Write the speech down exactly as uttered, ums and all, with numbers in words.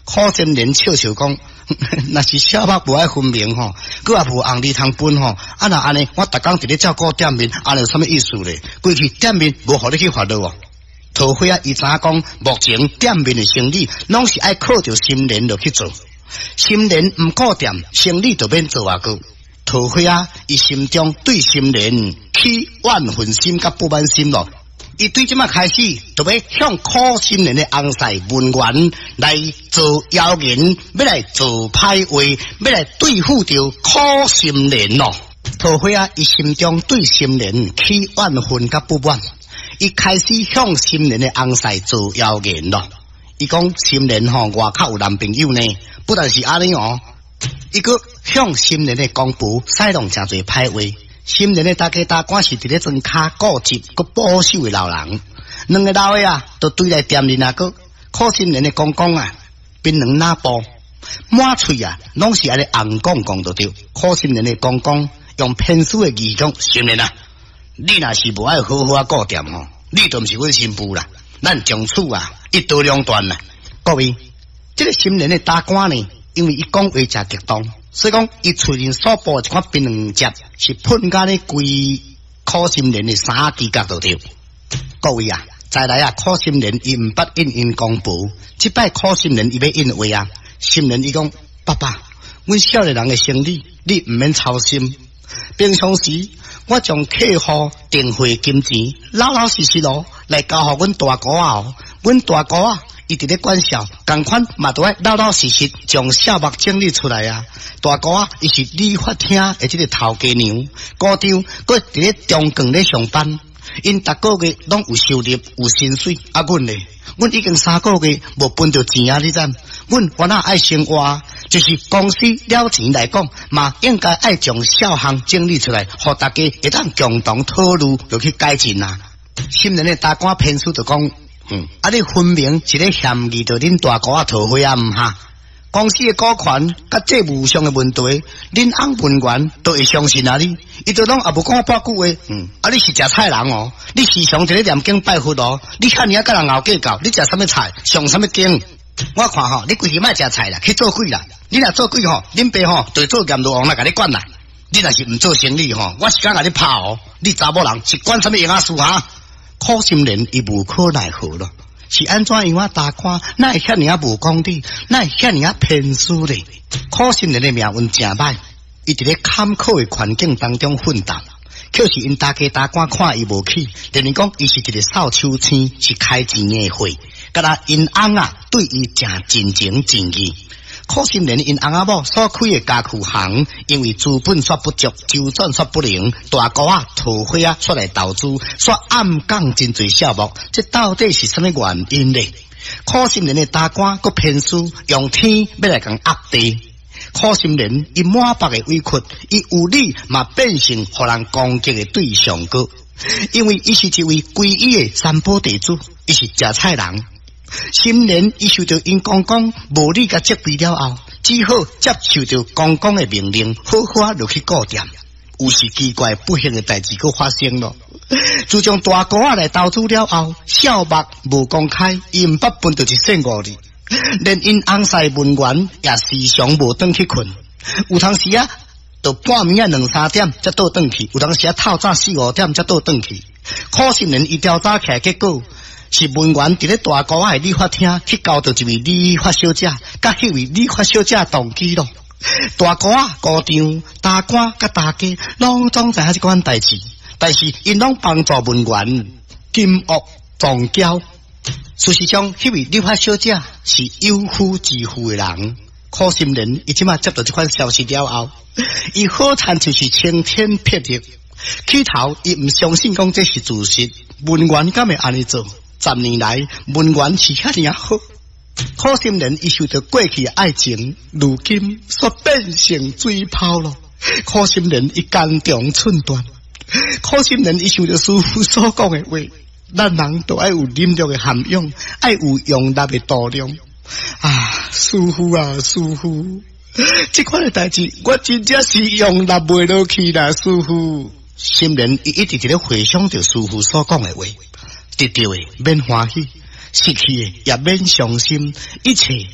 苦心人笑笑講，若是小目無愛分明吼，閣也無紅利通分吼，啊若按呢，我逐工佇咧照顧店面，按呢有啥物意思咧？規氣店面無予你去發落哦。桃花仔伊知影講，目前店面的生意攏是愛靠著心蓮落去做，心蓮毋顧店，生意就免做啊閣。桃花仔伊心中對心蓮起怨恨心佮不滿心咯。伊對這馬開始，就欲向苦心蓮的翁婿文員來做謠言，欲來做歹話，欲來對付著苦心蓮咯。桃花仔伊心中對心蓮起怨恨佮不滿，伊開始向心蓮的翁婿做謠言咯。伊講心蓮吼外口有男朋友呢，不但是按呢哦，伊閣向心蓮的公婆使弄誠濟歹話。心蓮的大家大官是佇咧莊跤固執、閣保守的老人，兩个老的啊，都對來店裡啊，閣苦心蓮的公公啊，檳榔若布滿喙啊，攏是按呢尪講講就對。苦心蓮的公公用偏私的語講，心蓮啊，你若是無愛好好仔顧店吼，你就毋是阮新婦啦，咱從此啊一刀兩斷啦。各位，這个心蓮的大官呢，因為伊講話誠激動。所以講，伊喙裡所吐的一款檳榔汁是噴甲咧規苦心蓮的衫仔角就對。各位啊，再來啊，苦心蓮伊毋捌應𪜶公婆，這擺苦心蓮伊欲應話啊，心蓮伊講：爸爸，阮少年人的生理，你毋免操心。平常時，我將客戶電匯金錢老老實實囉來交予阮大姑仔哦，阮大姑仔伊佇咧管數，仝款嘛都愛老老實實將數目整理出來啊。大姑仔伊是理髮廳的這个頭家娘，姑丈閣佇咧中鋼咧上班，𪜶逐个月攏有收入有薪水。啊，阮咧，阮已經三個月無分著錢啊！你知？阮原來愛生活，就是公司了錢來講，嘛應該愛將數項整理出來，予大家會當共同討論，落去改進啊。心蓮的大官偏書就講。嗯，啊！你分明是咧嫌疑著恁大姑仔桃花仔毋哈？公司的股權佮債務上的問題，恁翁文員都會相信啊你，伊都攏也無講我半句話。嗯，啊！你是食菜人哦，你時常佇咧念經拜佛哦，你遐爾仔佮人𠢕計較，你食啥物菜，上啥物經？我看吼，你規氣莫食菜啦，去做鬼啦！你若做鬼吼，恁爸吼就會做閻羅王來共你管啦。你若是毋做生意吼，我是敢共你拍哦！你查某人是管啥物閒仔事哈？苦心蓮伊無可奈何咯，是按怎樣啊？大官哪會遐爾仔無公理，哪會遐爾仔偏私咧？苦心蓮的命運誠歹，伊佇咧坎坷的環境當中奮鬥，卻是𪜶大家大官看伊無起，認為講伊是一个掃帚星，是開錢的貨，敢若𪜶翁啊對伊誠真情真意。苦心蓮𪜶翁仔某所開的家具行，因為資本煞不足，周轉煞不靈，大姑仔桃花仔出來投資，煞暗摃真濟數目，這到底是啥物原因呢？苦心蓮的大官閣偏私，用天欲來共壓地。苦心蓮伊滿腹的委屈，伊有理嘛變成予人攻擊的對象閣，因為伊是一位皈依的三寶地主，伊是食菜人。心蓮伊受著𪜶公公無理共責備了後，只好接受著公公的命令，好好仔落去顧店。有時奇怪不幸的代誌閣發生咯。自從大姑仔來投資了後，數目無公開，伊毋捌分著一仙五哩，連𪜶翁婿文員也時常無轉去睏。有當時啊，到半暝仔兩三點才倒轉去；有當時啊，透早四五點才倒轉去。苦心蓮伊調查起來，結果是文員佇咧大姑仔的理髮廳去交著一位理髮小姐，佮彼位理髮小姐同居咯。大姑仔、姑丈、大官佮大家攏總知影這款代誌，但是𪜶攏幫助文員金屋藏嬌。事實上，彼位理髮小姐是有夫之婦的人。苦心蓮伊這馬接到這款消息了後，伊好親像是晴天霹靂。起頭伊毋相信講這是事實，文員敢會按呢做？十年來，文員是遐爾仔好，苦心蓮伊受著過去的愛情，如今煞變成水泡咯。苦心蓮伊肝腸寸斷，苦心蓮伊想著師父所講的話，咱人都愛有忍辱的涵養，愛有容納的度量。啊，師父啊，師父，這款的代誌我真正是容納袂落去啦，師父。心蓮伊一直佇咧回想著師父所講的話，得著的免歡喜，失去的也免傷心，一切。